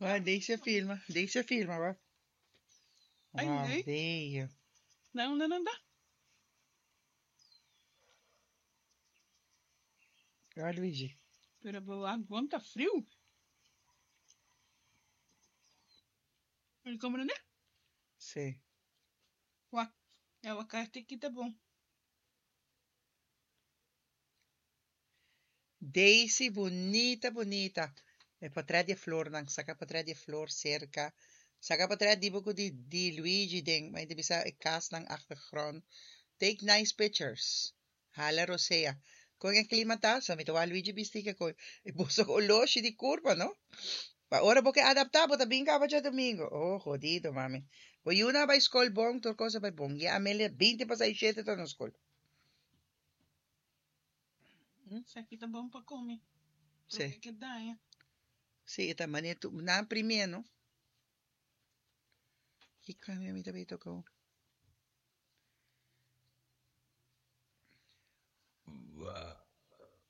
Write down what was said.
Wa, Daisy a filma. Daisy a filma, wa. Ay, Wow, nee. bello. Na unda nan ta? Wa, Luigi. Pero bo wak bon ta friu. Pero comprende? Sí. Wak, e awakati aki ta bon. Daisy bunita bunita. E portret di e flornan. Saka portret di e flor serka. Saka portret di bo ku di di Luigi den mi ta bisa e kasnan achtergrond. Take nice pictures. Hala rosea. Kon e klima ta? Sa mi ta wak Luigi bisti ke koi. E boso oloshi di kurpa no. Pa ora bo ke adaptá bo ta bin kaba djadumingu. Oh hodido mami. Bo yunan a bai skol bon tur kos a bai bon. Ya Amelia binti pasá i shete ta na skol. Esaki ta bon pa come. Sí. Porque ke daña. Sí, e ta mane tu nan primie no. Ki cambio mi ta bay toca?